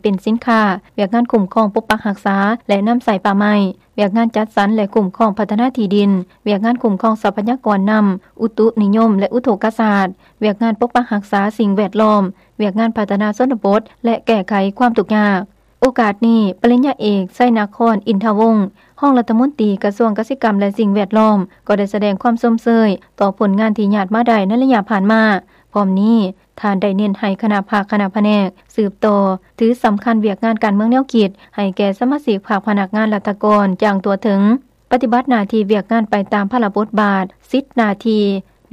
ເປັນສິນຄ້າ, ວຽກງານຄຸ້ມຄອງປົກປັກຮັກສາ ແລະ ນຳໃຊ້ປ່າໄມ້, ວຽກງານຈັດສັນ ແລະ ຄຸ້ມຄອງພັດທະນາທີ່ດິນ, ວຽກງານຄຸ້ມຄອງຊັບພະຍາກອນນ້ຳ, ອຸຕຸນິຍົມ ແລະ ອຸທົກກະສາດ, ວຽກງານປົກປັກຮັກສາສິ່ງແວດລ້ອມ, ວຽກງານພັດທະນາຊົນນະບົດ ແລະ ແກ້ໄຂຄວາມທຸກຍາກ. ໂອກາດນີ້, ປະລິນຍາເອກ ໄຊນະຄອນ ອິນທະວົງ ຮອງລັດຖະມົນຕີກະຊວງກະສິກຳ ແລະ ສິ່ງແວດລ້ອມ ກໍໄດ້ສະແດງຄວາມຊົມເຊີຍຕໍ່ຜົນງານທີ່ຍາດມາໄດ້ໃນໄລຍະຜ່ານມາ. ພ້ອມນີ້, ທ່ານໄດ້ເນັ້ນໃຫ້ຄະນະພັກ, ຄະນະພະແນກ ສືບຕໍ່ຖືສຳຄັນວຽກງານການເມືອງແນວຄິດ ໃຫ້ແກ່ສະມາຊິກພັກ, ພະນັກງານລັດຖະກອນຢ່າງທົ່ວເຖິງ, ປະຕິບັດໜ້າທີ່ວຽກງານໄປຕາມພາລະບົດບາດ, ສິດໜ້າທີ່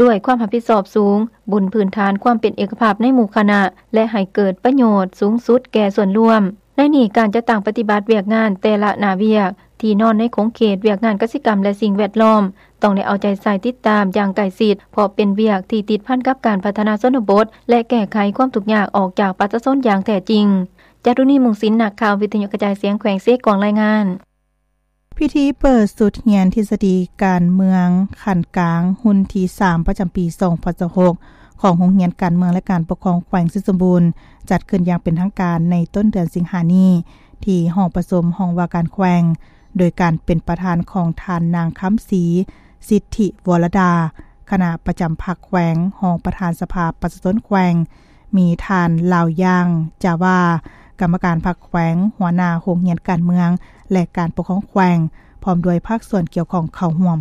ດ້ວຍຄວາມຮັບຜິດຊອບສູງ, ບົນພື້ນຖານຄວາມເປັນເອກະພາບໃນໝູ່ຄະນະ ແລະ ໃຫ້ເກີດປະໂຫຍດສູງສຸດແກ່ສ່ວນລວມ. ໃນນີ້, ການຈັດຕັ້ງປະຕິບັດວຽກງານແຕ່ລະໜ້າວຽກ ທີ່ນອນໃນຂົງເຂດວຽກງານກະສິກຳ ແລະ ສິ່ງແວດລ້ອມ ຕ້ອງໄດ້ເອົາໃຈໃສ່ຕິດຕາມຢ່າງໃກ້ຊິດ, ເພາະເປັນວຽກທີ່ຕິດພັນກັບການພັດທະນາຊົນນະບົດ ແລະ ແກ້ໄຂຄວາມທຸກຍາກອອກຈາກປະຊາຊົນຢ່າງແທ້ຈິງ. ຈາຕຸນີ ມຸງສິນ, ນັກຂ່າວວິທະຍຸກະຈາຍສຽງແຂວງເຊກອງ ລາຍງານ. ພິທີເປີດຊຸດຮຽນທິດສະດີການເມືອງຂັ້ນກາງຮຸ່ນທີສາມ ປະຈຳປີສອງພັນຊາວຫົກ ຂອງໂຮງຮຽນການເມືອງ ແລະ ການປົກຄອງແຂວງໄຊສົມບູນ ຈັດຂຶ້ນຢ່າງເປັນທາງການໃນຕົ້ນເດືອນສິງຫານີ້ ທີ່ຫ້ອງປະຊຸມຫ້ອງວ່າການແຂວງ ໂດຍການເປັນປະທານຂອງທ່ານນາງ ຄຳສີ ສິດທິວໍລະດາ ຄະນະປະຈຳພັກແຂວງ, ຮອງປະທານສະພາປະຊາຊົນແຂວງ, ມີທ່ານ ລາວຢ່າງ ຈາວາ ກຳມະການພັກແຂວງ, ຫົວໜ້າໂຮງຮຽນການເມືອງ ແລະ ການປົກຄອງແຂວງ ພ້ອມດ້ວຍພາກສ່ວນກ່ຽວຂ້ອງເຂົ້າຮ່ວມ.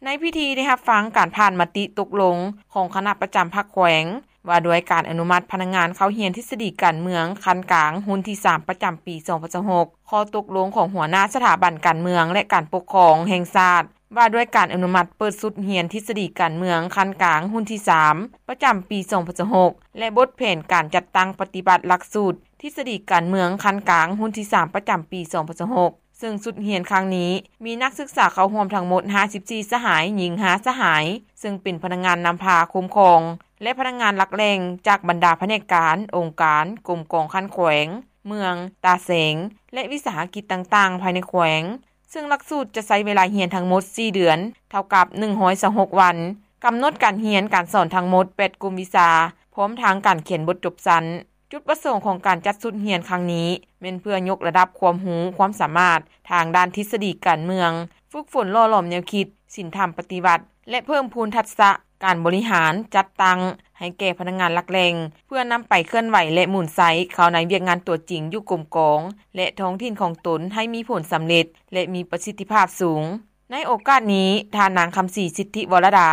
ໃນພິທີໄດ້ຮັບຟັງການຜ່ານມະຕິຕົກລົງຂອງຄະນະປະຈຳພັກແຂວງ ວ່າດ້ວຍການອະນຸມັດພະນັກງານເຂົ້າຮຽນທິດສະດີການເມືອງຂັ້ນກາງຮຸ່ນທີສາມ ປະຈຳປີສອງພັນຊາວຫົກ, ຂໍ້ຕົກລົງຂອງຫົວໜ້າສະຖາບັນການເມືອງ ແລະ ການປົກຄອງແຫ່ງຊາດ ວ່າດ້ວຍການອະນຸມັດເປີດຊຸດຮຽນທິດສະດີການເມືອງຂັ້ນກາງຮຸ່ນທີສາມ ປະຈຳປີສອງພັນຊາວຫົກ ແລະ ບົດແຜນການຈັດຕັ້ງປະຕິບັດຫຼັກສູດທິດສະດີການເມືອງຂັ້ນກາງຮຸ່ນທີສາມ ປະຈຳປີສອງພັນຊາວຫົກ ເຊິ່ງຊຸດຮຽນຄັ້ງນີ້ມີນັກສຶກສາເຂົ້າຮ່ວມທັງໝົດຫ້າສິບສີ່ສະຫາຍ, ຍິງຫ້າສະຫາຍ, ເຊິ່ງເປັນພະນັກງານນຳພາຄຸ້ມຄອງ ແລະ ພະນັກງານຫຼັກແຫຼ່ງຈາກບັນດາພະແນກການ, ອົງການ, ກົມກອງຂັ້ນແຂວງ, ເມືອງ, ຕາແສງ ແລະ ວິສາຫະກິດຕ່າງໆພາຍໃນແຂວງ. ເຊິ່ງຫຼັກສູດຈະໃຊ້ເວລາຮຽນທັງໝົດສີ່ເດືອນ, ເທົ່າກັບໜຶ່ງຮ້ອຍຊາວຫົກວັນ, ກຳນົດການຮຽນການສອນທັງໝົດແປດກຸ່ມວິຊາ, ພ້ອມທັງການຂຽນບົດຈົບຊັ້ນ. ຈຸດປະສົງຂອງການຈັດຊຸດຮຽນຄັ້ງນີ້ ແມ່ນເພື່ອຍົກລະດັບຄວາມຮູ້ຄວາມສາມາດທາງດ້ານທິດສະດີການເມືອງ, ຝຶກຝົນຫຼໍ່ຫຼອມແນວຄິດ, ສິນທຳປະຕິວັດ ແລະ ເພີ່ມພູນທັກສະການບໍລິຫານຈັດຕັ້ງໃຫ້ແກ່ພະນັກງານຫຼັກແຫຼ່ງ ເພື່ອນຳໄປເຄື່ອນໄຫວ ແລະ ໝູນໃຊ້ເຂົ້າໃນວຽກງານຕົວຈິງຢູ່ກົມກອງ ແລະ ທ້ອງຖິ່ນຂອງຕົນໃຫ້ມີຜົນສຳເລັດ ແລະ ມີປະສິດທິພາບສູງ. ໃນໂອກາດນີ້, ທ່ານນາງ ຄຳສີ ສິດທິວໍລະດາ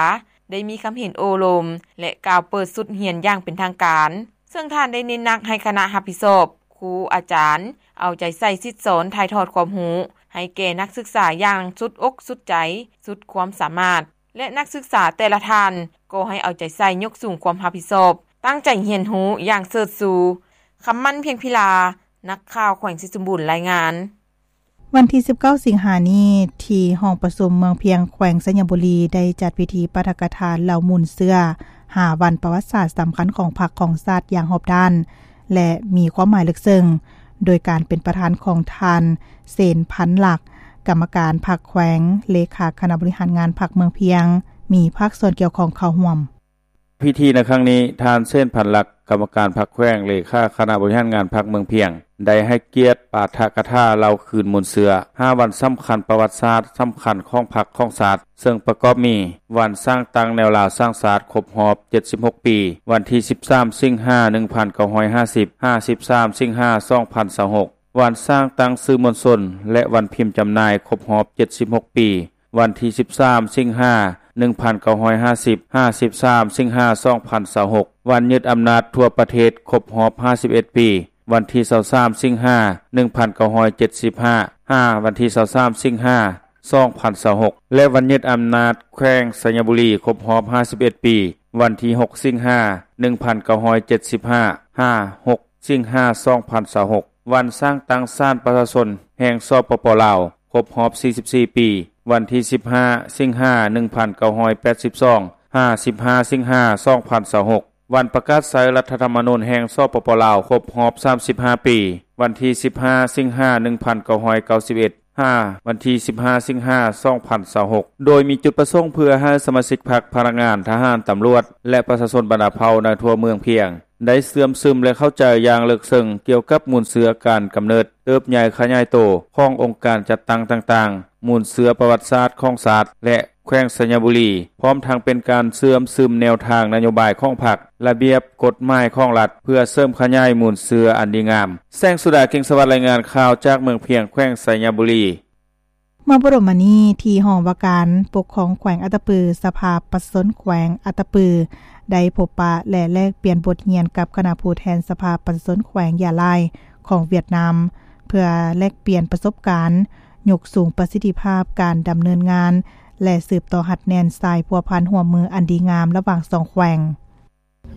ໄດ້ມີຄຳເຫັນໂອ້ລົມ ແລະ ກ່າວເປີດຊຸດຮຽນຢ່າງເປັນທາງການ, ເຊິ່ງທ່ານໄດ້ເນັ້ນໜັກໃຫ້ຄະນະຮັບຜິດຊອບ, ຄູ, ອາຈານ ເອົາໃຈໃສ່ສິດສອນຖ່າຍທອດຄວາມຮູ້ໃຫ້ແກ່ນັກສຶກສາຢ່າງສຸດອົກສຸດໃຈ, ສຸດຄວາມສາມາດ ແລະ ນັກສຶກສາແຕ່ລະທ່ານກໍໃຫ້ເອົາໃຈໃສ່ຍົກສູງຄວາມຮັບຜິດຊອບ, ຕັ້ງໃຈຮຽນຮູ້ຢ່າງເສີດຊູ. ຄຳໝັ້ນ ພຽງພິລາ, ນັກຂ່າວແຂວງໄຊສົມບູນ ລາຍງານ. ວັນທີສິບເກົ້າສິງຫານີ້ ທີ່ຫ້ອງປະຊຸມເມືອງພຽງ ແຂວງໄຊຍະບູລີ ໄດ້ຈັດພິທີປາຖະກະຖາເລົ່າມູນເຊື້ອຫ້າວັນປະຫວັດສາດສຳຄັນຂອງພັກຂອງຊາດຢ່າງຮອບດ້ານ ແລະ ມີຄວາມໝາຍເລິກເຊິ່ງ ໂດຍການເປັນປະທານຂອງທ່ານ ເສນ ພັນລັກ ກຳມະການພັກແຂວງ, ເລຂາຄະນະບໍລິຫານງານພັກເມືອງພຽງ, ມີພາກສ່ວນກ່ຽວຂ້ອງເຂົ້າຮ່ວມ. ພິທີໃນຄັ້ງນີ້, ທ່ານ ເສນ ພັນລັກ ກຳມະການພັກແຂວງ, ເລຂາຄະນະບໍລິຫານງານພັກເມືອງພຽງ ໄດ້ໃຫ້ກຽດປາຖະກະຖາເລົ່າຄືນມູນເຊື້ອຫ້າວັນສຳຄັນປະຫວັດສາດສຳຄັນຂອງພັກຂອງຊາດ, ເຊິ່ງປະກອບມີ ວັນສ້າງຕັ້ງແນວລາວສ້າງຊາດຄົບຮອບເຈັດສິບຫົກປີ, ວັນທີສິບສາມສິງຫາໜຶ່ງພັນເກົ້າຮ້ອຍຫ້າສິບ, ຫ້າສິບສາມສິງຫາສອງພັນຊາວຫົກ, ວັນສ້າງຕັ້ງສື່ມວນຊົນ ແລະ ວັນພິມຈຳໜ່າຍຄົບຮອບເຈັດສິບຫົກປີ, ວັນທີສິບສາມສິງຫາໜຶ່ງພັນເກົ້າຮ້ອຍຫ້າສິບ, ຫ້າສິບສາມສິງຫາສອງພັນຊາວຫົກ, ວັນຍຶດອຳນາດທົ່ວປະເທດຄົບຮອບຫ້າສິບເອັດປີ, ວັນທີຊາວສາມສິງຫາໜຶ່ງພັນເກົ້າຮ້ອຍເຈັດສິບຫ້າ, ຫາວັນທີຊາວສາມສິງຫາສອງພັນຊາວຫົກ ແລະ ວັນຍຶດອຳນາດແຂວງໄຊຍະບູລີຄົບຮອບຫ້າສິບເອັດປີ, ວັນທີຫົກສິງຫາໜຶ່ງພັນເກົ້າຮ້ອຍເຈັດສິບຫ້າ, ຫາຫົກສິງຫາສອງພັນຊາວຫົກ, ວັນສ້າງຕັ້ງສານປະຊາຊົນແຫ່ງ ສປປ ລາວ ຄົບຮອບສີ່ສິບສີ່ປີ, ວັນທີສິບຫ້າສິງຫາໜຶ່ງພັນເກົ້າຮ້ອຍແປດສິບສອງ, ຫາສິບຫ້າສິງຫາສອງພັນຊາວຫົກ, ວັນປະກາດໃຊ້ລັດຖະທຳມະນູນແຫ່ງ ສປປ ລາວ ຄົບຮອບສາມສິບຫ້າປີ, ວັນທີສິບຫ້າສິງຫາໜຶ່ງພັນເກົ້າຮ້ອຍເກົ້າສິບເອັດ, ຫາວັນທີສິບຫ້າສິງຫາສອງພັນຊາວຫົກ, ໂດຍມີຈຸດປະສົງເພື່ອໃຫ້ສະມາຊິກພັກ, ພະນັກງານ, ທະຫານ, ຕຳຫຼວດ ແລະ ປະຊາຊົນບັນດາເຜົ່າໃນທົ່ວເມືອງພຽງ ໄດ້ເຊື່ອມຊຶມ ແລະ ເຂົ້າໃຈຢ່າງເລິກເຊິ່ງກ່ຽວກັບມູນເຊື້ອການກຳເນີດ, ເຕີບໃຫຍ່ຂະຫຍາຍໂຕຂອງອົງການຈັດຕັ້ງຕ່າງໆ, ມູນເຊື້ອປະຫວັດສາດຂອງຊາດ ແລະ ແຂວງໄຊຍະບູລີ, ພ້ອມທັງເປັນການເຊື່ອມຊຶມແນວທາງນະໂຍບາຍຂອງພັກ, ລະບຽບກົດໝາຍຂອງລັດ ເພື່ອເສີມຂະຫຍາຍມູນເຊື້ອອັນດີງາມ. ແສງສຸດາ ເກັ່ງສະຫວັດ ລາຍງານຂ່າວຈາກເມືອງພຽງ ແຂວງໄຊຍະບູລີ. ເມື່ອບໍ່ດົນມານີ້ ທີ່ຫ້ອງວ່າການປົກຄອງແຂວງອັດຕະປື, ສະພາປະຊາຊົນແຂວງອັດຕະປື ໄດ້ພົບປະ ແລະ ແລກປ່ຽນບົດຮຽນກັບຄະນະຜູ້ແທນສະພາປະຊາຊົນແຂວງຢາລາຍຂອງຫວຽດນາມ ເພື່ອແລກປ່ຽນປະສົບການ, ຍົກສູງປະສິດທິພາບການດຳເນີນງານ ແລະ ສືບຕໍ່ຮັດແໜ້ນສາຍພົວພັນຮ່ວມມືອັນດີງາມລະຫວ່າງສອງແຂວງ.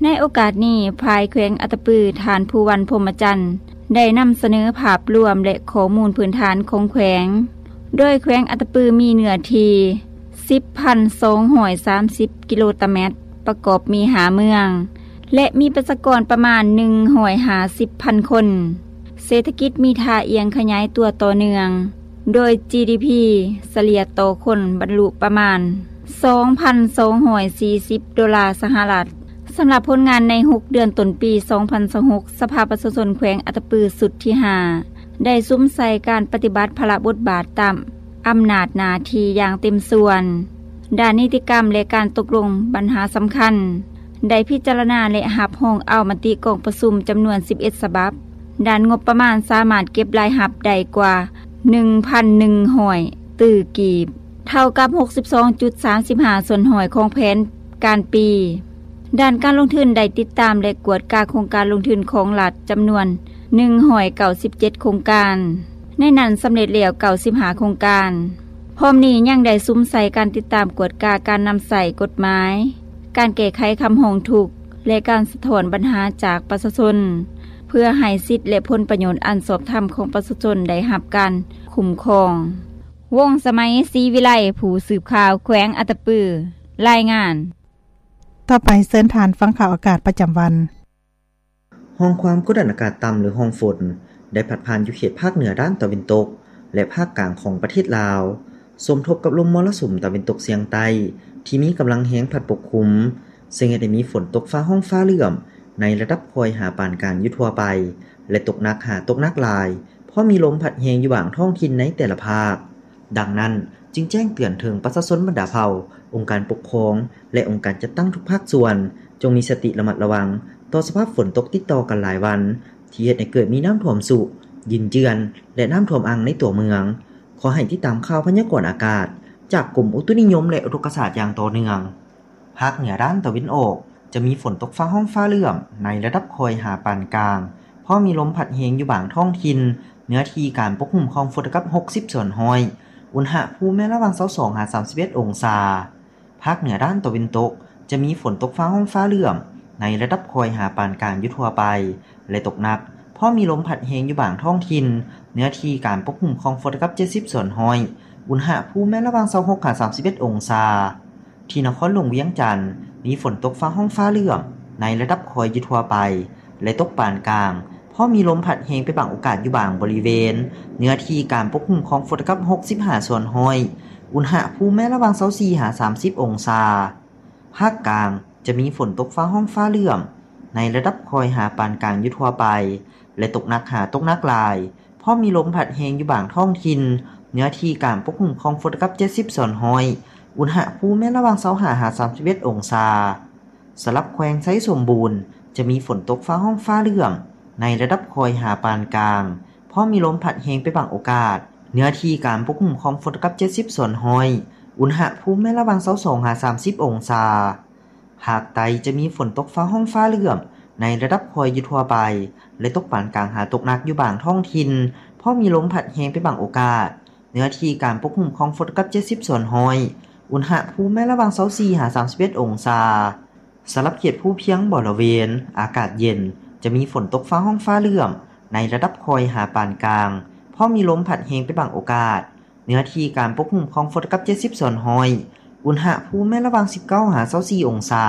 ໃນໂອກາດນີ້, ຝ່າຍແຂວງອັດຕະປື ທ່ານ ພູວັນ ພົມມະຈັນ ໄດ້ນຳສະເໜີພາບລວມ ແລະ ຂໍ້ມູນພື້ນຖານຂອງແຂວງ, ໂດຍແຂວງອັດຕະປືມີເນື້ອທີ່ສິບພັນສອງຮ້ອຍສາມສິບກິໂລຕາແມັດ, ປະກອບມີຫ້າເມືອງ ແລະ ມີປະຊາກອນປະມານໜຶ່ງຮ້ອຍຫ້າສິບພັນຄົນ. ເສດຖະກິດມີທ່າອ່ຽງຂະຫຍາຍຕົວຕໍ່ເນື່ອງ, ໂດຍ ຈີດີພີ ສະເລ່ຍຕໍ່ຄົນບັນລຸປະມານສອງພັນສອງຮ້ອຍສີ່ສິບໂດລາສະຫະລັດ. ສຳລັບຜົນງານໃນຫົກເດືອນຕົ້ນປີສອງພັນຊາວຫົກ, ສະພາປະຊາຊົນແຂວງອັດຕະປືຊຸດທີຫ້າ ໄດ້ສຸມໃສ່ການປະຕິບັດພາລະບົດບາດຕາມອຳນາດໜ້າທີ່ຢ່າງເຕັມສ່ວນ. ດ້ານນິຕິກຳ ແລະ ການຕົກລົງບັນຫາສຳຄັນ ໄດ້ພິຈາລະນາ ແລະ ຮັບຮອງເອົາມະຕິກອງປະຊຸມຈຳນວນສິບເອັດສະບັບ. ດ້ານງົບປະມານສາມາດເກັບລາຍຮັບໄດ້ກວ່າໜຶ່ງພັນໜຶ່ງຮ້ອຍຕື້ກີບ, ເທົ່າກັບຫົກສິບສອງຈຸດສາມສິບຫ້າສ່ວນຮ້ອຍຂອງແຜນການປີ. ດ້ານການລົງທຶນໄດ້ຕິດຕາມ ແລະ ກວດກາໂຄງການລົງທຶນຂອງລັດຈຳນວນໜຶ່ງຮ້ອຍເກົ້າສິບເຈັດໂຄງການ, ໃນນັ້ນສຳເລັດແລ້ວເກົ້າສິບຫ້າໂຄງການ. ພ້ອມນີ້ຍັງໄດ້ສຸມໃສ່ການຕິດຕາມກວດກາການນຳໃຊ້ກົດໝາຍ, ການແກ້ໄຂຄຳຮ້ອງທຸກ ແລະ ການສະທ້ອນບັນຫາຈາກປະຊາຊົນ ເພື່ອໃຫ້ສິດ ແລະ ຜົນປະໂຫຍດອັນຊອບທຳຂອງປະຊາຊົນໄດ້ຮັບການຄຸ້ມຄອງ. ວົງສະໄໝ ສີວິໄລ, ຜູ້ສືບຂ່າວແຂວງອັດຕະປື, ລາຍງານ. ຕໍ່ໄປເຊີນທ່ານຟັງຂ່າວອາກາດປະຈຳວັນ. ຮ່ອງຄວາມກົດດັນອາກາດຕ່ຳ ຫຼື ຮ່ອງຝົນ ໄດ້ພັດຜ່ານຢູ່ເຂດພາກເໜືອດ້ານຕາເວັນຕົກ ແລະ ພາກກາງຂອງປະເທດລາວ, ສົມທົບກັບລົມມໍລະສຸມຕາເວັນຕົກສຽງໃຕ້ ທີ່ມີກຳລັງແຮງພັດປົກຄຸມ, ເຊິ່ງເຮັດໃຫ້ມີຝົນຕົກຟ້າຮ້ອງຟ້າເຫຼື້ອມໃນລະດັບຄ່ອຍຫາປານກາງຢູ່ທົ່ວໄປ ແລະ ຕົກໜັກຫາຕົກໜັກຫຼາຍ, ເພາະມີລົມພັດແຮງຢູ່ບາງທ້ອງຖິ່ນໃນແຕ່ລະພາກ. ດັ່ງນັ້ນ, ຈຶ່ງແຈ້ງເຕືອນເຖິງປະຊາຊົນບັນດາເຜົ່າ, ອົງການປົກຄອງ ແລະ ອົງການຈັດຕັ້ງທຸກພາກສ່ວນ ຈົ່ງມີສະຕິລະມັດລະວັງຕໍ່ສະພາບຝົນຕົກຕິດຕໍ່ກັນຫຼາຍວັນ ທີ່ເຮັດໃຫ້ເກີດມີນ້ຳຖ້ວມຊຸ, ດິນເຈື່ອນ ແລະ ນ້ຳຖ້ວມອັ່ງໃນຕົວເມືອງ. ຂໍໃຫ້ຕິດຕາມຂ່າວພະຍາກອນອາກາດຈາກກົມອຸຕຸນິຍົມ ແລະ ອຸທົກກະສາດຢ່າງຕໍ່ເນື່ອງ. ພາກເໜືອດ້ານຕາເວັນອອກ ຈະມີຝົນຕົກຟ້າຮ້ອງຟ້າເຫຼື້ອມໃນລະດັບຄ່ອຍຫາປານກາງ, ເພາະມີລົມພັດແຮງຢູ່ບາງທ້ອງຖິ່ນ, ເນື້ອທີ່ການປົກຄຸມຂອງຝົນເທົ່າກັບຫົກສິບສ່ວນຮ້ອຍ, ອຸນຫະພູມແມ່ນລະຫວ່າງຊາວສອງຫາສາມສິບເອັດອົງສາ. ພາກເໜືອດ້ານຕາເວັນຕົກ ຈະມີຝົນຕົກຟ້າຮ້ອງຟ້າເຫຼື້ອມໃນລະດັບຄ່ອຍຫາປານກາງຢູ່ທົ່ວໄປ ແລະ ຕົກໜັກ, ເພາະມີລົມພັດແຮງຢູ່ບາງທ້ອງຖິ່ນ, ເນື້ອທີ່ການປົກຄຸມຂອງຝົນເທົ່າກັບເຈັດສິບສ່ວນຮ້ອຍ, ອຸນຫະພູມແມ່ນລະຫວ່າງຊາວຫົກຫາສາມສິບເອັດອົງສາ. ທີ່ນະຄອນຫຼວງວຽງຈັນ ມີຝົນຕົກຟ້າຮ້ອງຟ້າເຫຼື້ອມໃນລະດັບຄ່ອຍຢູ່ທົ່ວໄປ ແລະ ຕົກປານກາງ, ເພາະມີລົມພັດແຮງເປັນບາງໂອກາດຢູ່ບາງບໍລິເວນ, ເນື້ອທີ່ການປົກຄຸມຂອງຝົນເທົ່າກັບຫົກສິບຫ້າສ່ວນຮ້ອຍ, ອຸນຫະພູມແມ່ນລະຫວ່າງຊາວສີ່ຫາສາມສິບອົງສາ. ພາກກາງ ຈະມີຝົນຕົກຟ້າຮ້ອງຟ້າເຫຼື້ອມໃນລະດັບຄ່ອຍຫາປານກາງຢູ່ທົ່ວໄປ ແລະ ຕົກໜັກຫາຕົກໜັກຫຼາຍ, ເພາະມີລົມພັດແຮງຢູ່ບາງທ້ອງຖິ່ນ, ເນື້ອທີ່ການປົກຄຸມຂອງຝົນເທົ່າກັບເຈັດສິບສ່ວນຮ້ອຍ, ອຸນຫະພູມແມ່ນລະຫວ່າງຊາວຫ້າຫາສາມສິບເອັດອົງສາ. ສຳລັບແຂວງໄຊສົມບູນ ຈະມີຝົນຕົກຟ້າຮ້ອງຟ້າເຫຼື້ອມໃນລະດັບຄ່ອຍຫາປານກາງ, ເພາະມີລົມພັດແຮງເປັນບາງໂອກາດ, ເນື້ອທີ່ການປົກຄຸມຂອງຝົນເທົ່າກັບເຈັດສິບສ່ວນຮ້ອຍ, ອຸນຫະພູມແມ່ນລະຫວ່າງຊາວສອງຫາສາມສິບອົງສາ. ພາກໃຕ້ຈະມີຝົນຕົກຟ້າຮ້ອງຟ້າເຫຼື້ອມໃນລະດັບຄ່ອຍຢູ່ທົ່ວໄປ ແລະ ຕົກປານກາງຫາຕົກໜັກຢູ່ບາງທ້ອງຖິ່ນ, ເພາະມີລົມພັດແຮງເປັນບາງໂອກາດ, ເນື້ອທີ່ການປົກຄຸມຂອງຝົນເທົ່າກັບເຈັດສິບສ່ວນຮ້ອຍ, ອຸນຫະພູມແມ່ນລະຫວ່າງຊາວສີ່ຫາສາມສິບເອັດອົງສາ. ສຳລັບເຂດພູພຽງບໍລະເວນ ອາກາດເຢັນ, ຈະມີຝົນຕົກຟ້າຮ້ອງຟ້າເຫຼື້ອມໃນລະດັບຄ່ອຍຫາປານກາງ, ເພາະມີລົມພັດແຮງເປັນບາງໂອກາດ, ເນື້ອທີ່ການປົກຄຸມຂອງຝົນເທົ່າກັບເຈັດສິບສ່ວນຮ້ອຍ, ອຸນຫະພູມແມ່ນລະຫວ່າງສິບເກົ້າຫາຊາວສີ່ອົງສາ.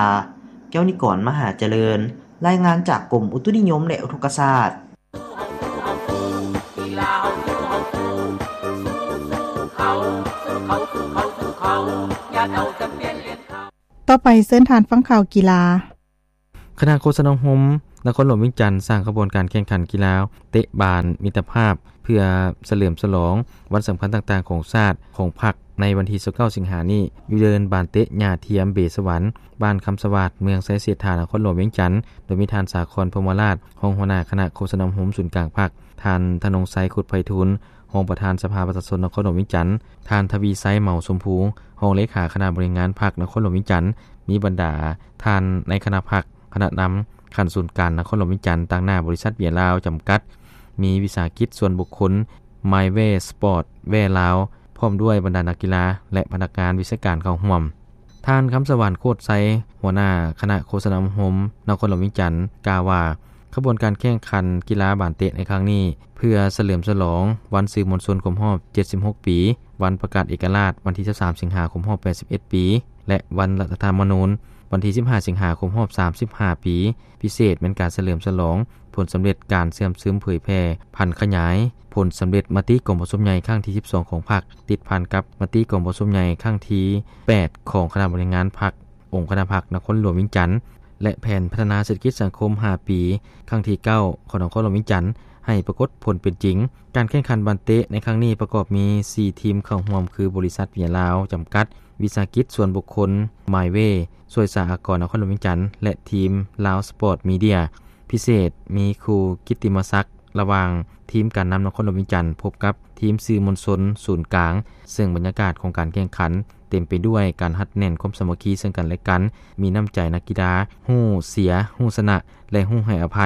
ແກ້ວນິກອນ ມະຫາຈະເລີນ, ລາຍງານຈາກກົມອຸຕຸນິຍົມ ແລະ ອຸທົກກະສາດ. ຕໍ່ໄປເຊີນທ່ານຟັງຂ່າວກິລາ. ຄະນະໂຄສະນາອົບຮົມ ນະຄອນຫຼວງວຽງຈັນ ສ້າງຂະບວນການແຂ່ງຂັນກິລາເຕະບານມິດຕະພາບ ເພື່ອສະເຫຼີມສະຫຼອງວັນສຳຄັນຕ່າງໆຂອງຊາດ, ຂອງພັກ ໃນວັນທີຊາວເກົ້າ ສິງຫານີ້ ຢູ່ເດີ່ນບານເຕະຫຍ້າທຽມເບສະຫວັນ ບ້ານຄຳສະຫວາດ ເມືອງໄຊເສດຖາ ນະຄອນຫຼວງວຽງຈັນ, ໂດຍມີທ່ານ ສາຄອນ ພົມມະລາດ ຮອງຫົວໜ້າຄະນະໂຄສະນາອົບຮົມສູນກາງພັກ, ທ່ານ ທະນົງໄຊ ຄຸດໄພທູນ ຮອງປະທານສະພາປະຊາຊົນນະຄອນຫຼວງວຽງຈັນ, ທ່ານ ທະວີໄຊ ເໝົາຊົມພູ ຮອງເລຂາຄະນະບໍລິຫານງານພັກນະຄອນຫຼວງວຽງຈັນ, ມີບັນດາທ່ານໃນຄະນະພັກ, ຄະນະນຳຂັ້ນສູນກາງນະຄອນຫຼວງວຽງຈັນ ຕາງໜ້າບໍລິສັດເບຍລາວຈຳກັດ, ມີວິສາຫະກິດສ່ວນບຸກຄົນ ມາຍເວ ສະປອດແວລາວ ພ້ອມດ້ວຍບັນດານັກກິລາ ແລະ ພະນັກງານວິຊາການເຂົ້າຮ່ວມ. ທ່ານ ຄຳສະຫວັນ ໂຄດໄຊ ຫົວໜ້າຄະນະໂຄສະນາອົບຮົມນະຄອນຫຼວງວຽງຈັນ ກ່າວວ່າ ຂະບວນການແຂ່ງຂັນກິລາບານເຕະໃນຄັ້ງນີ້ ເພື່ອສະເຫຼີມສະຫຼອງວັນສື່ມວນຊົນຄົບຮອບເຈັດສິບຫົກປີ, ວັນປະກາດເອກະລາດວັນທີຊາວສາມ ສິງຫາຄົບຮອບແປດສິບເອັດປີ ແລະ ວັນລັດຖະທຳມະນູນວັນທີສິບຫ້າ ສິງຫາຄົບຮອບສາມສິບຫ້າປີ, ພິເສດແມ່ນການສະເຫຼີມສະຫຼອງຜົນສຳເລັດການເຊື່ອມຊຶມເຜີຍແຜ່ຜັນຂະຫຍາຍຜົນສຳເລັດມະຕິກອງປະຊຸມໃຫຍ່ຄັ້ງທີສິບສອງຂອງພັກ, ຕິດພັນກັບມະຕິກອງປະຊຸມໃຫຍ່ຄັ້ງທີແປດຂອງຄະນະບໍລິຫານງານພັກ ອົງຄະນະພັກນະຄອນຫຼວງວຽງຈັນ ແລະ ແຜນພັດທະນາເສດຖະກິດສັງຄົມຫ້າປີ ຄັ້ງທີເກົ້າຂອງນະຄອນຫຼວງວຽງຈັນ ໃຫ້ປາກົດຜົນເປັນຈິງ. ການແຂ່ງຂັນບານເຕະໃນຄັ້ງນີ້ປະກອບມີສີ່ທີມເຂົ້າຮ່ວມ ຄື ບໍລິສັດເບຍລາວຈຳກັດ, ວິສາຫະກິດສ່ວນບຸກຄົນ ມາຍເວ, ສວຍສາອາກອນນະຄອນຫຼວງວຽງຈັນ ແລະ ທີມລາວສະປອດມີເດຍ. ພິເສດມີຄູ່ກິດຕິມະສັກ ລະຫວ່າງທີມການນຳນະຄອນຫຼວງວຽງຈັນ ພົບກັບທີມສື່ມວນຊົນສູນກາງ, ເຊິ່ງບັນຍາກາດຂອງການແຂ່ງຂັນເຕັມໄປດ້ວຍການຮັດແໜ້ນຄວາມສາມັກຄີເຊິ່ງກັນແລະກັນ, ມີນ້ຳໃຈນັກກິລາ, ຮູ້ເສຍ, ຮູ້ຊະນະ ແລະ ຮູ້ໃຫ້ອະໄພ.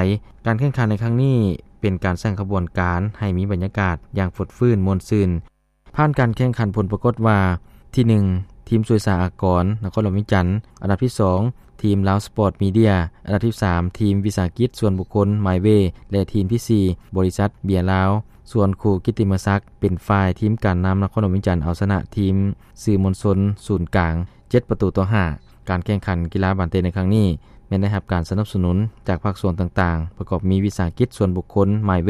ການແຂ່ງຂັນໃນຄັ້ງນີ້ເປັນການສ້າງຂະບວນການໃຫ້ມີບັນຍາກາດຢ່າງຟົດຟື້ນມ່ວນຊື່ນ. ຜ່ານການແຂ່ງຂັນ ຜົນປາກົດວ່າ ທີໜຶ່ງ ທີມສວຍສາອາກອນນະຄອນຫຼວງວຽງຈັນ, ອັນດັບທີສອງ ທີມລາວສະປອດມີເດຍ, ອັນດັບທີສາມ ທີມວິສາຫະກິດສ່ວນບຸກຄົນ ມາຍເວ ແລະ ທີມທີສີ່ ບໍລິສັດເບຍລາວ. ສ່ວນຄູ່ກິດຕິມະສັກ ເປັນຝ່າຍທີມການນຳນະຄອນຫຼວງວຽງຈັນ ເອົາຊະນະທີມສື່ມວນຊົນສູນກາງເຈັດປະຕູຕໍ່ຫ້າ. ການແຂ່ງຂັນກິລາບານເຕະໃນຄັ້ງນີ້ ແມ່ນໄດ້ຮັບການສະໜັບສະໜູນຈາກພາກສ່ວນຕ່າງໆ ປະກອບມີວິສາຫະກິດສ່ວນບຸກຄົນ ມາຍເວ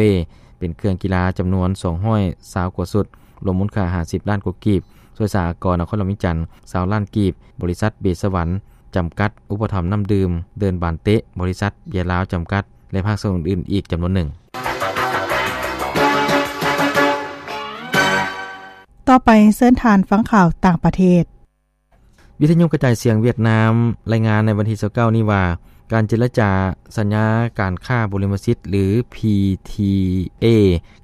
ເປັນເຄື່ອງກິລາຈຳນວນສອງຮ້ອຍຊາວກວ່າຊຸດ, ລວມມູນຄ່າຫ້າສິບລ້ານກວ່າກີບ, ສວຍສາອາກອນນະຄອນຫຼວງວຽງຈັນ ຊາວລ້ານກີບ, ບໍລິສັດເບສະຫວັນຈຳກັດ ອຸປະຖຳນ້ຳດື່ມ, ເດີ່ນບານເຕະ ບໍລິສັດເບຍລາວຈຳກັດ ແລະ ພາກສ່ວນອື່ນໆອີກຈຳນວນໜຶ່ງ. ຕໍ່ໄປເຊີນທ່ານຟັງຂ່າວຕ່າງປະເທດ. ວິທະຍຸກະຈາຍສຽງຫວຽດນາມລາຍງານໃນວັນທີຊາວເກົ້ານີ້ວ່າ ການເຈລະຈາສັນຍາການຄ້າບຸລິມະສິດ ຫຼື ພີທີເອ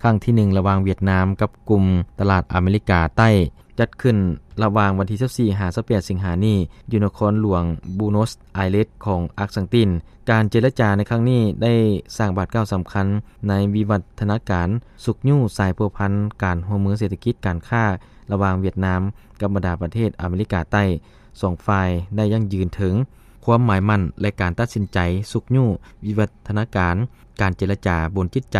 ຄັ້ງທີໜຶ່ງ ລະຫວ່າງຫວຽດນາມກັບກຸ່ມຕະຫຼາດອາເມລິກາໃຕ້ ຈັດຂຶ້ນລະຫວ່າງວັນທີຊາວສີ່ ຫາ ຊາວແປດ ສິງຫານີ້ ຢູ່ນະຄອນຫຼວງບູໂນສໄອເຣສຂອງອາກສັງຕິນ. ການເຈລະຈາໃນຄັ້ງນີ້ໄດ້ສ້າງບາດກ້າວສຳຄັນໃນວິວັດທະນາການຊຸກຍູ້ສາຍພົວພັນການຮ່ວມມືເສດຖະກິດການຄ້າລະຫວ່າງຫວຽດນາມກັບບັນດາປະເທດອາເມລິກາໃຕ້. ສອງຝ່າຍໄດ້ຢັ້ງຢືນເຖິງຄວາມໝາຍໝັ້ນ ແລະ ການຕັດສິນໃຈຊຸກຍູ້ວິວັດທະນາການ, ການເຈລະຈາບົນຈິດໃຈ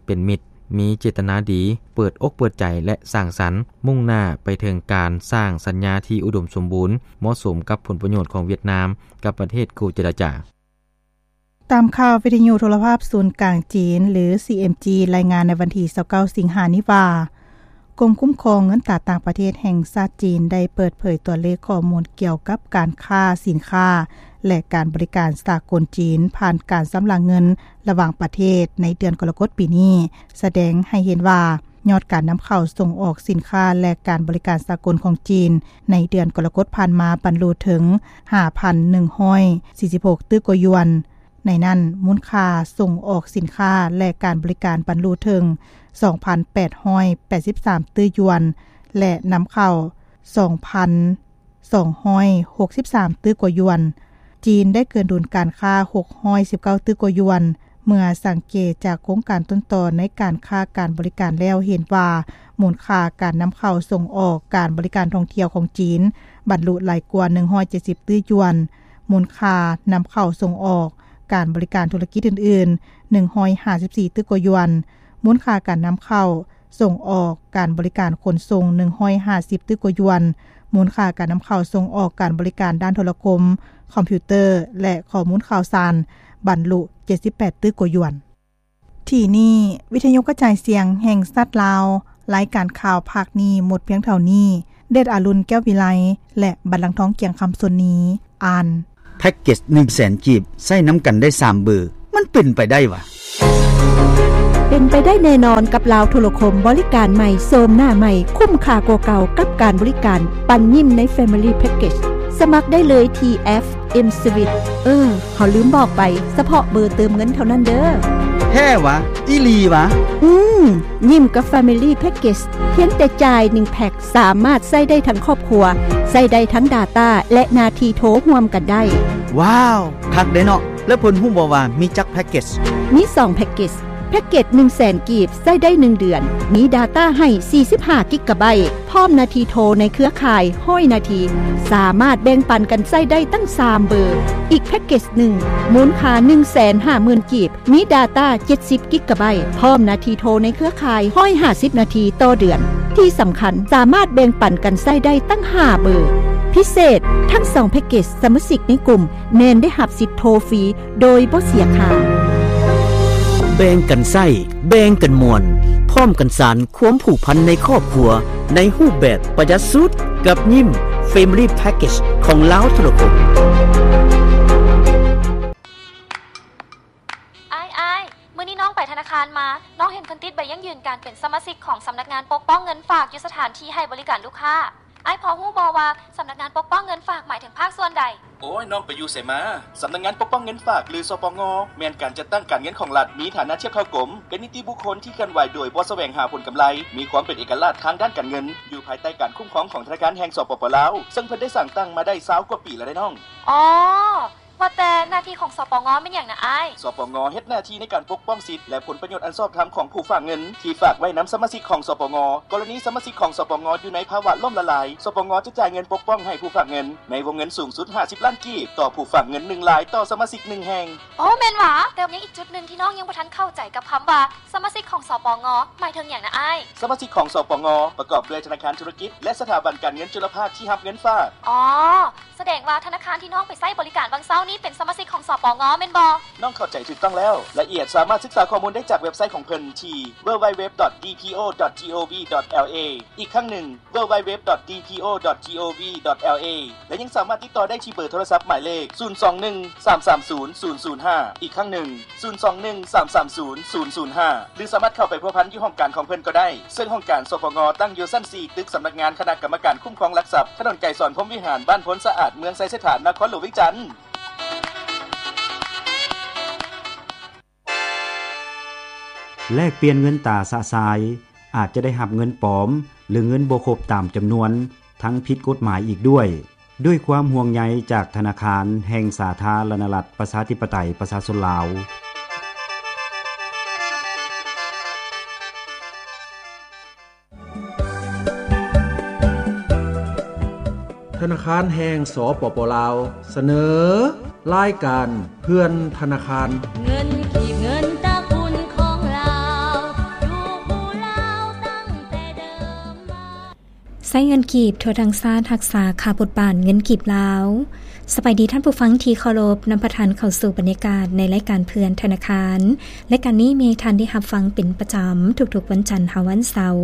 ເປັນມິດ, ມີເຈດຕະນາດີ, ເປີດອົກເປີດໃຈ ແລະ ສ້າງສັນ, ມຸ່ງໜ້າໄປເຖິງການສ້າງສັນຍາທີ່ອຸດົມສົມບູນ, ເໝາະສົມກັບຜົນປະໂຫຍດຂອງຫວຽດນາມກັບປະເທດຄູ່ເຈລະຈາ. ຕາມຂ່າວວິທະຍຸໂທລະພາບສູນກາງຈີນ ຫຼື ຊີເອັມຈີ ລາຍງານໃນວັນທີຊາວເກົ້າ ສິງຫານີ້ວ່າ ກົມຄຸ້ມຄອງເງິນຕາຕ່າງປະເທດແຫ່ງຊາດຈີນ ໄດ້ເປີດເຜີຍຕົວເລກຂໍ້ມູນກ່ຽວກັບການຄ້າສິນຄ້າ ແລະ ການບໍລິການສາກົນຈີນ ຜ່ານການຊຳລະເງິນລະຫວ່າງປະເທດໃນເດືອນກໍລະກົດປີນີ້ ສະແດງໃຫ້ເຫັນວ່າ ຍອດການນຳເຂົ້າສົ່ງອອກສິນຄ້າ ແລະ ການບໍລິການສາກົນຂອງຈີນ ໃນເດືອນກໍລະກົດຜ່ານມາບັນລຸເຖິງ ຫ້າພັນໜຶ່ງຮ້ອຍສີ່ສິບຫົກຕື້ກວ່າຢວນ. ໃນນັ້ນ, ມູນຄ່າສົ່ງອອກສິນຄ້າ ແລະ ການບໍລິການບັນລຸເຖິງ ສອງພັນແປດຮ້ອຍແປດສິບສາມຕື້ຢວນ ແລະ ນຳເຂົ້າ ສອງພັນສອງຮ້ອຍຫົກສິບສາມຕື້ກວ່າຢວນ. ຈີນໄດ້ເກີນດຸນການຄ້າ ຫົກຮ້ອຍສິບເກົ້າຕື້ກວ່າຢວນ. ເມື່ອສັງເກດຈາກໂຄງການຕົ້ນຕໍໃນການຄ້າການບໍລິການແລ້ວ ເຫັນວ່າມູນຄ່າການນຳເຂົ້າສົ່ງອອກການບໍລິການທ່ອງທ່ຽວຂອງຈີນ ບັນລຸຫຼາຍກວ່າ ໜຶ່ງຮ້ອຍເຈັດສິບຕື້ຢວນ, ມູນຄ່ານຳເຂົ້າສົ່ງອອກການບໍລິການທຸລະກິດອື່ນໆ ໜຶ່ງຮ້ອຍຫ້າສິບສີ່ຕື້ກວ່າຢວນ, ມູນຄ່າການນຳເຂົ້າ ສົ່ງອອກການບໍລິການຂົນສົ່ງ ໜຶ່ງຮ້ອຍຫ້າສິບຕື້ກວ່າຢວນ, ມູນຄ່າການນຳເຂົ້າສົ່ງອອກການບໍລິການດ້ານໂທລະຄົມ, ຄອມພິວເຕີ ແລະ ຂໍ້ມູນຂ່າວສານ ບັນລຸ ເຈັດສິບແປດຕື້ກວ່າຢວນ. ທີ່ນີ້ ວິທະຍຸກະຈາຍສຽງແຫ່ງຊາດລາວ, ລາຍການຂ່າວພາກນີ້ໝົດພຽງເທົ່ານີ້. ເດດອາລຸນ ແກ້ວວິໄລ ແລະ ບັນລັງທອງ ກຽງຄຳ ສ່ວນນີ້ ອ່ານ. ແພັກເກັດໜຶ່ງແສນກີບ ໃຊ້ນຳກັນໄດ້ສາມເບີ. ມັນເປັນໄປໄດ້ຫວາ? ເປັນໄປໄດ້ແນ່ນອນກັບລາວໂທລະຄົມ, ບໍລິການໃໝ່, ໂສມໜ້າໃໝ່, ຄຸ້ມຄ່າກວ່າເກົ່າກັບການບໍລິການປັນຍິ້ມໃນ Family Package. ສະໝັກໄດ້ເລີຍທີ່ແອັບ M-Swiss. ເອີ, ເຮົາລືມບອກໄປ, ສະເພາະເບີເຕີມເງິນເທົ່ານັ້ນເດີ້. ແທ້ຫວາ? ອີ່ຫຼີຫວາ? ອືມ, ຍິ້ມກັບ Family Package ພຽງແຕ່ຈ່າຍໜຶ່ງແພັກ ສາມາດໃຊ້ໄດ້ທັງຄອບຄົວ, ໃຊ້ໄດ້ທັງ data ແລະ ໜ້າທີ່ໂທຮ່ວມກັນໄດ້. ວ້າວ, ຄັກເດ້ເນາະ. ແລ້ວເພິ່ນຮູ້ບໍ່ວ່າມີຈັກແພັກເກັດ? ມີສອງແພັກເກັດ. ແພັກເກັດໜຶ່ງແສນກີບ ໃຊ້ໄດ້ໜຶ່ງເດືອນ, ມີ data ໃຫ້ສີ່ສິບຫ້າກິກກະໄບ, ພ້ອມໜ້າທີ່ໂທໃນເຄືອຂ່າຍຮ້ອຍນາທີ, ສາມາດແບ່ງປັນກັນໃຊ້ໄດ້ຕັ້ງສາມເບີ. ອີກແພັກເກັດໜຶ່ງ ມູນຄ່າໜຶ່ງແສນຫ້າໝື່ນກີບ, ມີ data ເຈັດສິບກິກກະໄບ, ພ້ອມໜ້າທີ່ໂທໃນເຄືອຂ່າຍຮ້ອຍຫ້າສິບນາທີຕໍ່ເດືອນ. ທີ່ສຳຄັນ, ສາມາດແບ່ງປັນກັນໃຊ້ໄດ້ຕັ້ງຫ້າເບີ. ພິເສດ, ທັງສອງແພັກເກັດ, ສະມາຊິກໃນກຸ່ມແມ່ນໄດ້ຮັບສິດໂທຟຣີໂດຍບໍ່ເສຍຄ່າ. ແບ່ງກັນໃຊ້, ແບ່ງກັນມ່ວນ, ພ້ອມກັນສານຄວາມຜູກພັນໃນຄອບຄົວ ໃນຮູບແບບປະຢັດສຸດ ກັບຍິ້ມ Family Package ຂອງລາວໂທລະຄົມ. ອ້າຍ, ອ້າຍ, ມື້ນີ້ນ້ອງໄປທະນາຄານມາ, ນ້ອງເຫັນເພິ່ນຕິດໃບຢັ້ງຢືນການເປັນສະມາຊິກຂອງສຳນັກງານປົກປ້ອງເງິນຝາກຢູ່ສະຖານທີ່ໃຫ້ບໍລິການລູກຄ້າ. ອ້າຍພໍຮູ້ບໍ່ວ່າສຳນັກງານປົກປ້ອງເງິນຝາກໝາຍເຖິງພາກສ່ວນໃດ? ໂອ້ຍ, ນ້ອງໄປຢູ່ໃສມາ? ສຳນັກງານປົກປ້ອງເງິນຝາກ ຫຼື ສປງ ແມ່ນການຈັດຕັ້ງການເງິນຂອງລັດ, ມີຖານະທຽບເທົ່າກົມ, ເປັນນິຕິບຸກຄົນທີ່ເຄື່ອນໄຫວໂດຍບໍ່ສະແຫວງຫາຜົນກຳໄລ, ມີຄວາມເປັນເອກະລາດທາງດ້ານການເງິນ, ຢູ່ພາຍໃຕ້ການຄຸ້ມຄອງຂອງທະນາຄານແຫ່ງ ສປປ ລາວ, ເຊິ່ງເພິ່ນໄດ້ສ້າງຕັ້ງມາໄດ້ຊາວກວ່າປີແລ້ວເດ້ນ້ອງ. ອໍ ວ່າແຕ່ໜ້າທີ່ຂອງ ສປງ ແມ່ນຫຍັງນະອ້າຍ? ສປງ ເຮັດໜ້າທີ່ໃນການປົກປ້ອງສິດ ແລະ ຜົນປະໂຫຍດອັນຊອບທຳຂອງຜູ້ຝາກເງິນ ທີ່ຝາກໄວ້ນຳສະມາຊິກຂອງ ສປງ. ກໍລະນີສະມາຊິກຂອງ ສປງ ຢູ່ໃນພາວະລົ້ມລະລາຍ, ສປງ ຈະຈ່າຍເງິນປົກປ້ອງໃຫ້ຜູ້ຝາກເງິນ ໃນວົງເງິນສູງສຸດຫ້າສິບລ້ານກີບ ຕໍ່ຜູ້ຝາກເງິນໜຶ່ງລາຍຕໍ່ສະມາຊິກໜຶ່ງແຫ່ງ. ໂອ້ ແມ່ນຫວາ? ແຕ່ຍັງອີກຈຸດໜຶ່ງທີ່ນ້ອງຍັງບໍ່ທັນເຂົ້າໃຈກັບຄຳວ່າ ສະມາຊິກຂອງ ສປງ ໝາຍເຖິງຫຍັງນະອ້າຍ? ສະມາຊິກຂອງ ສປງ ປະກອບດ້ວຍທະນາຄານທຸລະກິດ ແລະ ສະຖາບັນການເງິນຈຸລະພາກທີ່ຮັບເງິນຝາກ. ອໍ ສະແດງວ່າທະນາຄານທີ່ນ້ອງໄປໃຊ້ບໍລິການຫວ່າງເຊົ້ານີ້ເປັນສະມາຊິກຂອງ ສປງ ແມ່ນບໍ່? ນ້ອງເຂົ້າໃຈຖືກຕ້ອງແລ້ວ. ລາຍລະອຽດສາມາດສຶກສາຂໍ້ມູນໄດ້ຈາກເວັບໄຊຂອງເພິ່ນທີ່ www.dpo.gov.lw ອີກຄັ້ງໜຶ່ງ www.dpo.gov.lw ແລະ ຍັງສາມາດຕິດຕໍ່ໄດ້ທີ່ເບີໂທລະສັບໝາຍເລກ ສູນສອງໜຶ່ງ ສາມສາມສູນ ສູນສູນຫ້າ ອີກຄັ້ງໜຶ່ງ ສູນສອງໜຶ່ງ ສາມສາມສູນ ສູນສູນຫ້າ ຫຼື ສາມາດເຂົ້າໄປພົວພັນຢູ່ຫ້ອງການຂອງເພິ່ນກໍໄດ້, ເຊິ່ງຫ້ອງການ ສປງ ຕັ້ງຢູ່ຊັ້ນສີ່ ຕຶກສຳນັກງານຄະນະກຳມະການຄຸ້ມຄອງຫຼັກຊັບ, ຖະໜົນໄກສອນ ພົມວິຫານ, ບ້ານໂພນສະອາດ, ເມືອງໄຊເສດຖາ, ນະຄອນຫຼວງວຽງຈັນ. ແລກປ່ຽນເງິນຕາຊະຊາຍ ອາດຈະໄດ້ຮັບເງິນປອມ ຫຼື ເງິນບໍ່ຄົບຕາມຈຳນວນ ທັງຜິດກົດໝາຍອີກດ້ວຍ. ດ້ວຍຄວາມຫ່ວງໃຍຈາກທະນາຄານແຫ່ງສາທາລະນະລັດ ປະຊາທິປະໄຕ ປະຊາຊົນລາວ. ທະນາຄານແຫ່ງ ສປປ ລາວ ສະເໜີ ລາຍການເພື່ອນທະນາຄານ. ເງິນກີບ ເງິນຕະກຸນຂອງລາວ ຢູ່ຜູ້ລາວຕັ້ງແຕ່ເດີມມາ. ໃຊ້ເງິນກີບທົ່ວທັງຊາດ ຮັກສາຄ່າບົດບາດເງິນກີບລາວ. ສະບາຍດີທ່ານຜູ້ຟັງທີ່ເຄົາລົບ, ນຳພາທ່ານເຂົ້າສູ່ບັນຍາກາດໃນລາຍການເພື່ອນທະນາຄານ. ລາຍການນີ້ມີໃຫ້ທ່ານໄດ້ຮັບຟັງເປັນປະຈຳທຸກໆວັນຈັນຫາວັນເສົາ,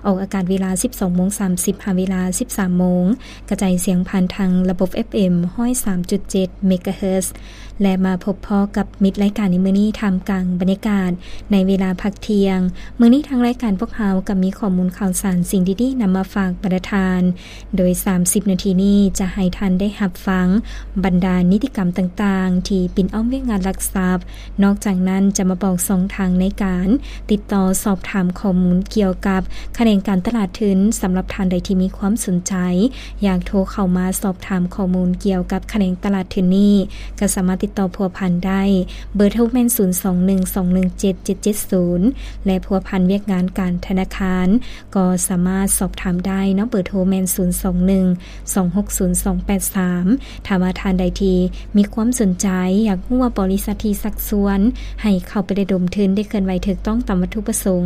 ອອກອາກາດເວລາສິບສອງໂມງສາມສິບ ຫາເວລາສິບສາມໂມງ, ກະຈາຍສຽງຜ່ານທາງລະບົບ ເອັຟເອັມ ຮ້ອຍສາມຈຸດເຈັດ ເມກາເຮີດ. ແລະ ມາພົບພໍ້ກັບມິດລາຍການໃນມື້ນີ້ ທ່າມກາງບັນຍາກາດໃນເວລາພັກທ່ຽງ. ມື້ນີ້ທາງລາຍການພວກເຮົາກໍມີຂໍ້ມູນຂ່າວສານສິ່ງດີໆນຳມາຝາກບັນດາທ່ານ, ໂດຍສາມສິບນາທີນີ້ຈະໃຫ້ທ່ານໄດ້ຮັບຟັງບັນດານິຕິກຳຕ່າງໆທີ່ປິ່ນອ້ອມວຽກງານຫຼັກຊັບ. ນອກຈາກນັ້ນຈະມາບອກຊ່ອງທາງໃນການຕິດຕໍ່ສອບຖາມຂໍ້ມູນກ່ຽວກັບຂະແໜງການຕະຫຼາດທຶນ. ສຳລັບທ່ານໃດທີ່ມີຄວາມສົນໃຈ ຢາກໂທເຂົ້າມາສອບຖາມຂໍ້ມູນກ່ຽວກັບຂະແໜງຕະຫຼາດທຶນນີ້ ກໍສາມາດຕິດຕໍ່ພົວພັນໄດ້. ເບີໂທແມ່ນ ສູນສອງໜຶ່ງ ສອງໜຶ່ງເຈັດ ເຈັດເຈັດສູນ ແລະ ພົວພັນວຽກງານການທະນາຄານ ກໍສາມາດສອບຖາມໄດ້ເນາະ. ເບີໂທແມ່ນ ສູນສອງໜຶ່ງ ສອງຫົກສູນ ສອງແປດສາມ. ຖ້າວ່າທ່ານໃດທີ່ມີຄວາມສົນໃຈ ຢາກຮູ້ວ່າບໍລິສັດທີ່ຊັກຊວນໃຫ້ເຂົ້າໄປລະດົມທຶນໄດ້ເຄື່ອນໄຫວຖືກຕ້ອງຕາມວັດຖຸປະສົງ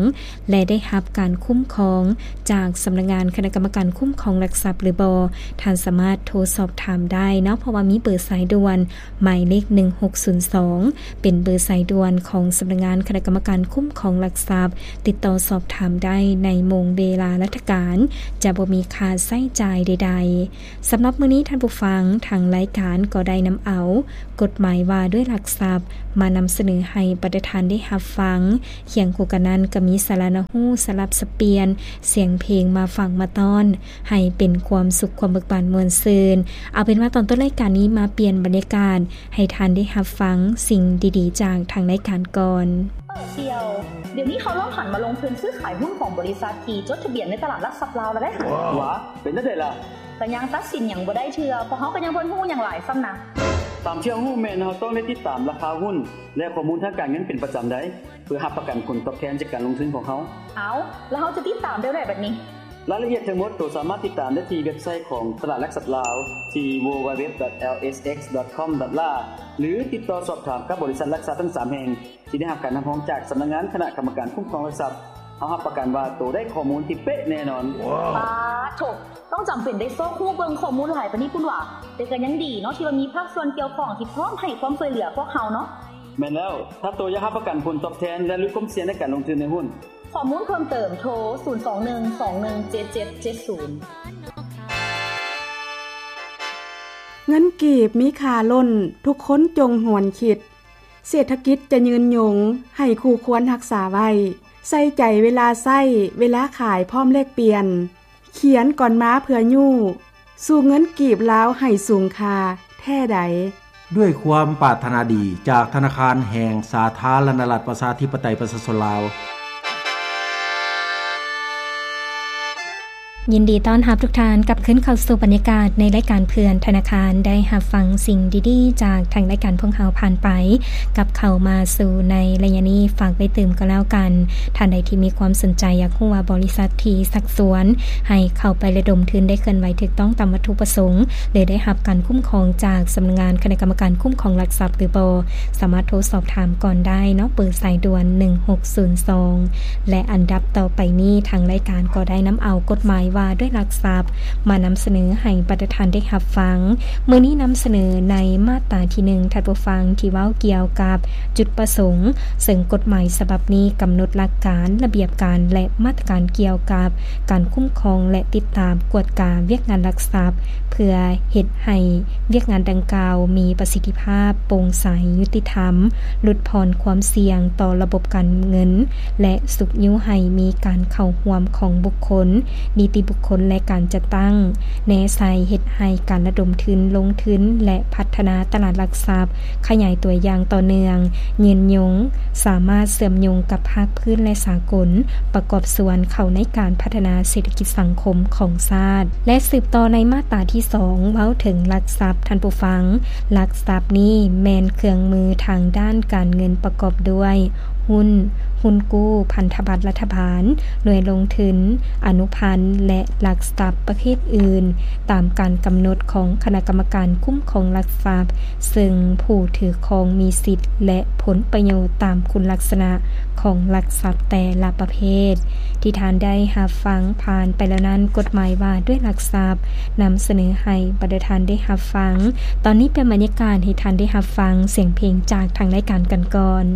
ແລະ ໄດ້ຮັບການຄຸ້ມຄອງຈາກສຳນັກງານຄະນະກຳມະການຄຸ້ມຄອງຫຼັກຊັບຫຼືບໍ່, ທ່ານສາມາດໂທສອບຖາມໄດ້ເນາະ, ເພາະວ່າມີເບີສາຍດ່ວນໝາຍເລກ ໜຶ່ງຫົກສູນສອງ ເປັນເບີສາຍດ່ວນຂອງສຳນັກງານຄະນະກຳມະການຄຸ້ມຄອງຫຼັກຊັບ. ຕິດຕໍ່ສອບຖາມໄດ້ໃນໂມງເວລາລັດຖະການ, ຈະບໍ່ມີຄ່າໃຊ້ຈ່າຍໃດໆ. ສຳລັບມື້ນີ້ທ່ານຜູ້ຟັງ, ທາງລາຍການກໍໄດ້ນຳເອົາກົດໝາຍວ່າດ້ວຍຫຼັກຊັບ ມານຳສະເໜີໃຫ້ບັນດາທ່ານໄດ້ຮັບຟັງ. ຄຽງຄູ່ກັນນັ້ນກໍມີສາລະໜ້າຮູ້, ສະຫຼັບສັບປ່ຽນສຽງເພງມາຝາກມາຕ້ອນ ໃຫ້ເປັນຄວາມສຸກ, ຄວາມເບີກບານມ່ວນຊື່ນ. ເອົາເປັນວ່າຕອນຕົ້ນລາຍການນີ້ມາປ່ຽນບັນຍາກາດ ໃຫ້ທ່ານໄດ້ຮັບຟັງສິ່ງດີໆຈາກທາງລາຍການກ່ອນ. ເອີ ສ່ຽວ, ດຽວນີ້ເຂົາລອງຫັນມາລົງທຶນຊື້ຂາຍຫຸ້ນຂອງບໍລິສັດທີ່ຈົດທະບຽນໃນຕະຫຼາດຫຼັກຊັບລາວແລ້ວເດ້. ຫວາ ເປັນຈັ່ງໃດລະ? ກະຍັງຕັດສິນຫຍັງບໍ່ໄດ້ເທື່ອ, ພວກເຮົາກະຍັງບໍ່ທັນຮູ້ຫຍັງຫຼາຍຊ້ຳນະ. ຕາມທີ່ເຮົາຮູ້ແມ່ນເຮົາຕ້ອງໄດ້ຕິດຕາມລາຄາຫຸ້ນ ແລະ ຂໍ້ມູນທາງການເງິນເປັນປະຈຳໄດ໋ ເພື່ອຮັບປະກັນຜົນຕອບແທນຈາກການລົງທຶນຂອງເຮົາ. ເອົ້າ ແລ້ວເຮົາຈະຕິດຕາມແນວໃດບັດນີ້? ລາຍລະອຽດທັງໝົດໂຕສາມາດຕິດຕາມໄດ້ທີ່ເວັບໄຊຂອງຕະຫຼາດຫຼັກຊັບລາວ ທີ່ www.lsx.com.la ຫຼື ຕິດຕໍ່ສອບຖາມກັບບໍລິສັດຫຼັກຊັບທັງສາມແຫ່ງ ທີ່ໄດ້ຮັບການຮັບຮອງຈາກສຳນັກງານຄະນະກຳມະການຄຸ້ມຄອງຫຼັກຊັບ. ເຮົາຮັບປະກັນວ່າໂຕໄດ້ຂໍ້ມູນທີ່ເປະແນ່ນອນ. ປາໂທ້ ຕ້ອງຈຳເປັນໄດ້ຊອກຮູ້ເບິ່ງຂໍ້ມູນຫຼາຍປານນີ້ພຸ້ນຫວາ? ແຕ່ກະຍັງດີເນາະ ທີ່ວ່າມີພາກສ່ວນກ່ຽວຂ້ອງທີ່ພ້ອມໃຫ້ຄວາມຊ່ວຍເຫຼືອພວກເຮົາເນາະ. ແມ່ນແລ້ວ, ຖ້າໂຕຢາກຮັບປະກັນຜົນຕອບແທນ ແລະ ຫຼຸດຄວາມສ່ຽງໃນການລົງທຶນໃນຫຸ້ນ, ຂໍ້ມູນເພີ່ມເຕີມ ໂທ ສູນສອງໜຶ່ງສອງໜຶ່ງເຈັດເຈັດເຈັດສູນ. ເງິນກີບມີຄ່າລົ້ນ, ທຸກຄົນຈົ່ງຫວນຄິດ. ເສດຖະກິດຈະຍືນຍົງ, ໃຫ້ຄູ່ຄວນຮັກສາໄວ້. ໃສ່ໃຈເວລາໃຊ້, ເວລາຂາຍພ້ອມແລກປ່ຽນ. ຂຽນກ່ອນມາເພື່ອຍູ້, ສູ້ເງິນກີບລາວໃຫ້ສູງຄ່າແທ້ໃດ. ດ້ວຍຄວາມປາດຖະໜາດີຈາກທະນາຄານແຫ່ງສາທາລະນະລັດປະຊາທິປະໄຕປະຊາຊົນລາວ. ຍິນດີຕ້ອນຮັບທຸກທ່ານກັບຄືນເຂົ້າສູ່ບັນຍາກາດໃນລາຍການເພື່ອນທະນາຄານ ໄດ້ຮັບຟັງສິ່ງດີໆຈາກທາງລາຍການພວກເຮົາຜ່ານໄປ. ກັບເຂົ້າມາສູ່ໃນໄລຍະນີ້ ຝາກໄວ້ຕື່ມກໍແລ້ວກັນ, ທ່ານໃດທີ່ມີຄວາມສົນໃຈຢາກຮູ້ວ່າບໍລິສັດທີ່ຊັກຊວນໃຫ້ເຂົ້າໄປລະດົມທຶນໄດ້ເຄື່ອນໄຫວຖືກຕ້ອງຕາມວັດຖຸປະສົງ ຫຼື ໄດ້ຮັບການຄຸ້ມຄອງຈາກສຳນັກງານຄະນະກຳມະການຄຸ້ມຄອງຫຼັກຊັບຫຼືບໍ່, ສາມາດໂທສອບຖາມກ່ອນໄດ້ເນາະ ເບີສາຍດ່ວນໜຶ່ງຫົກສູນສອງ. ແລະ ອັນດັບຕໍ່ໄປນີ້ ທາງລາຍການກໍໄດ້ນຳເອົາກົດໝາຍວ່າດ້ວຍຫຼັກຊັບ ມານຳສະເໜີໃຫ້ບັນດາທ່ານໄດ້ຮັບຟັງ. ມື້ນີ້ນຳສະເໜີໃນມາດຕາທີໜຶ່ງ ທ່ານຜູ້ຟັງ, ທີ່ເວົ້າກ່ຽວກັບຈຸດປະສົງ, ເຊິ່ງກົດໝາຍສະບັບນີ້ກຳນົດຫຼັກການ, ລະບຽບການ ແລະ ມາດຕະການກ່ຽວກັບການຄຸ້ມຄອງ ແລະ ຕິດຕາມກວດກາວຽກງານຫຼັກຊັບ ເພື່ອເຮັດໃຫ້ວຽກງານດັ່ງກ່າວມີປະສິດທິພາບ, ໂປ່ງໃສ, ຍຸຕິທຳ, ຫຼຸດຜ່ອນຄວາມສ່ຽງຕໍ່ລະບົບການເງິນ ແລະ ຊຸກຍູ້ໃຫ້ມີການເຂົ້າຮ່ວມຂອງບຸກຄົນ, ນິຕິບຸກຄົນ ແລະ ການຈັດຕັ້ງ ແນໃສ່ເຮັດໃຫ້ການລະດົມທຶນ, ລົງທຶນ ແລະ ພັດທະນາຕະຫຼາດຫຼັກຊັບຂະຫຍາຍຕົວຢ່າງຕໍ່ເນື່ອງ, ຍືນຍົງ, ສາມາດເຊື່ອມໂຍງກັບພາກພື້ນ ແລະ ສາກົນ, ປະກອບສ່ວນເຂົ້າໃນການພັດທະນາເສດຖະກິດສັງຄົມຂອງຊາດ. ແລະ ສືບຕໍ່ໃນມາດຕາທີສອງ ເວົ້າເຖິງຫຼັກຊັບ, ທ່ານຜູ້ຟັງ, ຫຼັກຊັບນີ້ແມ່ນເຄື່ອງມືທາງດ້ານການເງິນປະກອບດ້ວຍ ຫຸ້ນ, ຫຸ້ນກູ້, ພັນທະບັດລັດຖະບານ, ໜ່ວຍລົງທຶນ, ອະນຸພັນ ແລະ ຫຼັກຊັບປະເພດອື່ນ ຕາມການກຳນົດຂອງຄະນະກຳມະການຄຸ້ມຄອງຫຼັກຊັບ, ເຊິ່ງຜູ້ຖືຄອງມີສິດ ແລະ ຜົນປະໂຫຍດຕາມຄຸນລັກສະນະຂອງຫຼັກຊັບແຕ່ລະປະເພດ. ທີ່ທ່ານໄດ້ຮັບຟັງຜ່ານໄປແລ້ວນັ້ນ, ກົດໝາຍວ່າດ້ວຍຫຼັກຊັບ ນຳສະເໜີໃຫ້ບັນດາທ່ານໄດ້ຮັບຟັງ. ຕອນນີ້ເປັນບັນຍາກາດໃຫ້ທ່ານໄດ້ຮັບຟັງສຽງເພງຈາກທາງລາຍການກັນກ່ອນ.